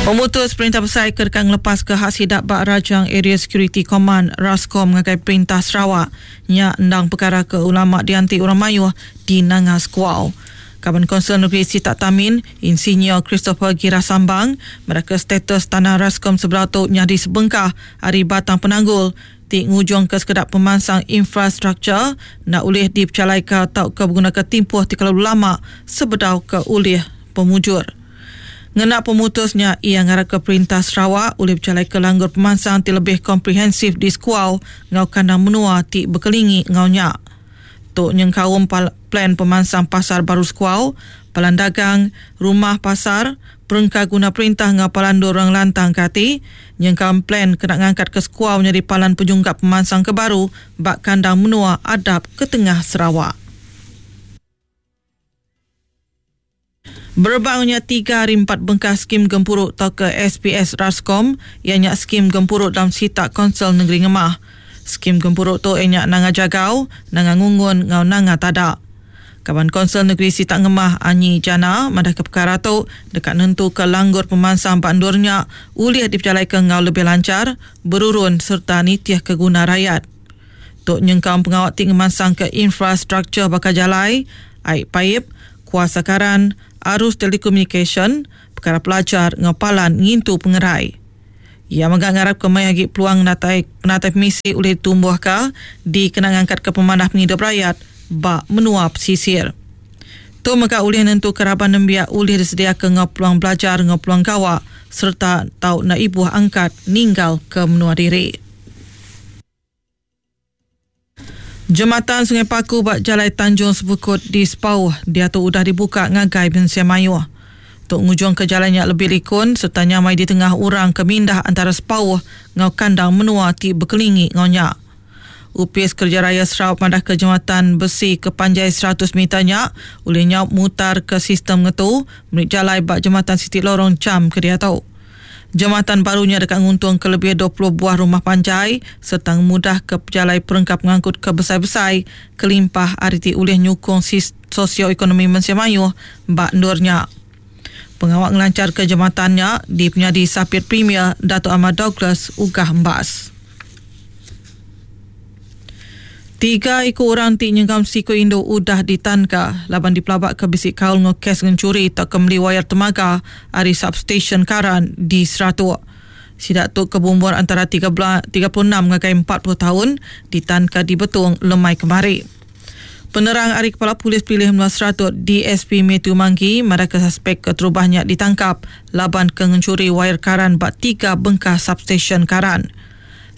Pemutus Perintah Besai ke deka ngelepaska hak sida ba Rajang Area Security Command, Rascom, ngagai Perintah Sarawak nya endang pekara ke ulama dianti orang mayuh di Nanga Sekuau. Kaban Kaunsil Negeri Sitak Tamin, Insinyur Christopher Gira Sambang madahka status tanah Rascom sebedau tu nyadi sebengkah ari batang penanggul ti ngujungka sekeda pemansang infrastruktur enda ulih dipejalaika tauka begunaka timpuh ti kelalu lama sebedau ke ulih pemujur. Ngena pemutus nya, iya ngarapka Perintah Sarawak ulih bejalaika langgur pemansang ti lebih komprehensif di Sekuau enggau kandang menua ti bekelingi enggau nya. Tu nyengkaum plan pemansang pasar baru Sekuau, palan dagang, rumah pasar, perengka guna perintah enggau palan endur orang lantang ke ati, nyengkaum plan kena ngangkatka Sekuau nyadi palan penyunggap pemansang ke baru ba kandang menua adap ke tengah Sarawak. Berebak nya tiga ari empat bengkah skim gempuru tauka SPS Rascom iya nya skim gempuru dalam sitak Kaunsil Nengeri Ngemah. Skim gempuru tu iya nya Nanga Jagau, Nanga Ngungun enggau Nanga Tada. Kaban Kaunsil Negeri Sitak Ngemah Anyi Jana madahka pekara tu deka nentuka langgur pemansang ba endur nya ulih dipejalaika enggau lebih lanchar, berurun sereta nitihka guna rayat. Tu nyengkaum pengawa ti ngemansangka infrastruktur baka jalai, ai paip, kuasa karan, arus telekomunikasyen, pekara pelajar enggau palan ngintu pengerai. Iya mega ngarapka mayuh agi peluang ngenatai penatai pemisi ulih ditumbuhka dikena ngangkatka pemanah pengidup rayat ba menua pesisir. Tu mega ulih nentuka raban nembiak ulih disediaka enggau peluang belajar enggau peluang gawa sereta tau enda ibuh angkat ninggalka menua diri. Jematan Sungai Paku ba Jalai Tanjung Sebukut di Sepauh diatu udah dibuka ngagai mensia mayuh. Tu ngujungka jalai nya lebih likun sereta nyamai ditengah orang ke mindah antara Sepauh enggau kandang menua ti bekelingi enggau nya. Opis Kereja Raya Sarawak madahka jematan besi ke panjai 100 meter nya ulih nyaup mutarka sistem ngetu meri jalai ba jematan siti lorong jam ke diatu. Jematan baru nya deka nguntungka lebih 20 buah rumah panjai sereta ngemudahka pejalai perengka pengangkut ke besai-besai kelimpah ari ti ulih nyukung sosioekonomi mensia mayuh ba endur nya. Pengawa ngelancharka jematan nya dipenyadi Sapit Premier Datuk Amar Douglas Uggah Embas. Tiga iku orang ti nyengkaum siku indu udah ditanka laban dipelabaka bisi kaul enggau kes ngenchuri tauka meli wayar temaga ari substesyen karan di Seratok. Sida tu ke beumur antara 36 ngagai 40 taun ditanka di Betong lemai kemari. Penerang ari Kepala Polis Pelilih Menua Seratok DSP Mathew Manggi madahka suspek keterubah nya ditangkap laban ke ngenchuri wayar karan ba tiga bengkah substesyen karan.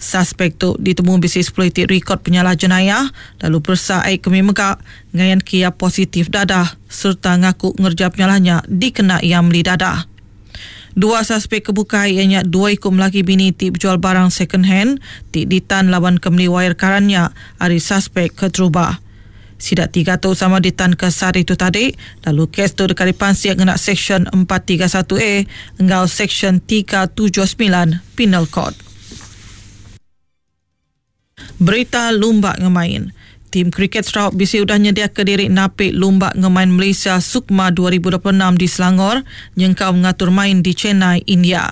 Saspek tu ditemu bisi sepuluh iti rikod penyalah jenayah lalu peresa ai kemi mega ngayanka iya positif dadah sereta ngaku ngereja penyalah nya dikena iya meli dadah. Dua saspek ke bukai iya nya dua iku melaki bini ti bejual barang second hand ti ditan laban ke meli wayar karan nya ari saspek keterubah. Sida tiga tu sama ditanka sehari tu tadi lalu kes tu deka dipansik ngena Seksyen 431 A enggau Seksyen 379 Penal Code. Berita lumba ngemain. Tim kriket Sarawak bisi udah nyediaka diri napi Lumba Ngemain Malaysia Sukma 2026 di Selangor nyengkaum ngatur main di Chennai, India.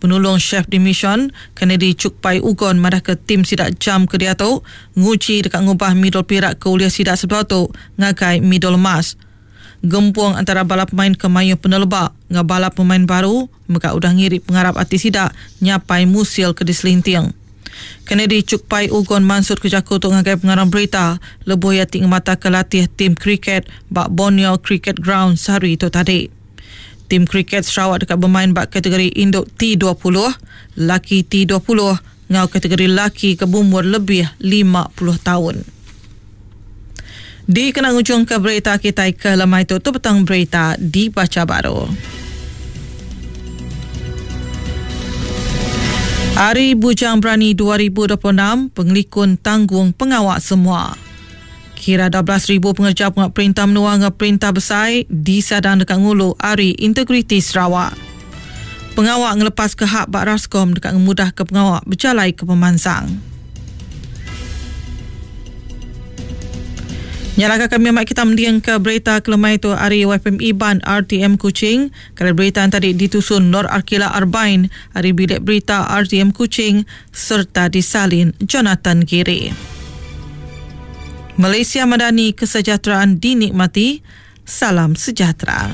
Penulung Chef de Mission, Kennedy Chukpai Ugon madahka tim sida jam ke diatu nguji deka ngubah midul pirak ke ulih sida sebedau tu ngagai midul emas. Gempung antara bala pemain ke mayuh peneleba enggau bala pemain baru mega udah ngiri pengarap ati sida nyapai musil ke diselinting. Kennedy Chukpai Ugon mansutka jaku tu ngagai pengarang berita lebuh iya ti ngemataka latih tim kriket ba Borneo Cricket Ground sehari tu tadi. Tim kriket Sarawak deka bemain ba kategori indu T 20, laki T 20 enggau kategori laki ke beumur lebih 50 taun. Dikena ngujungka berita kitai ke lemai tu, tu petang berita dibacha baru. Hari Bujang Berani 2026, pengelikun tanggung pengawa semua. Kira 12,000 pengereja pengawa perintah menua enggau perintah besai disadang deka ngulu Hari Integriti Sarawak. Pengawa ngelepaska hak ba Rascom deka ngemudahka pengawa bejalaika pemansang. Nya laka kami mai kita mending ke berita kelemai tu ari YFM Iban RTM Kuching. Kala berita yang tadi ditusun Nur Arkila Arbain ari bilik berita RTM Kuching serta disalin Jonathan Giri. Malaysia Madani kesejahteraan dinikmati. Salam sejahtera.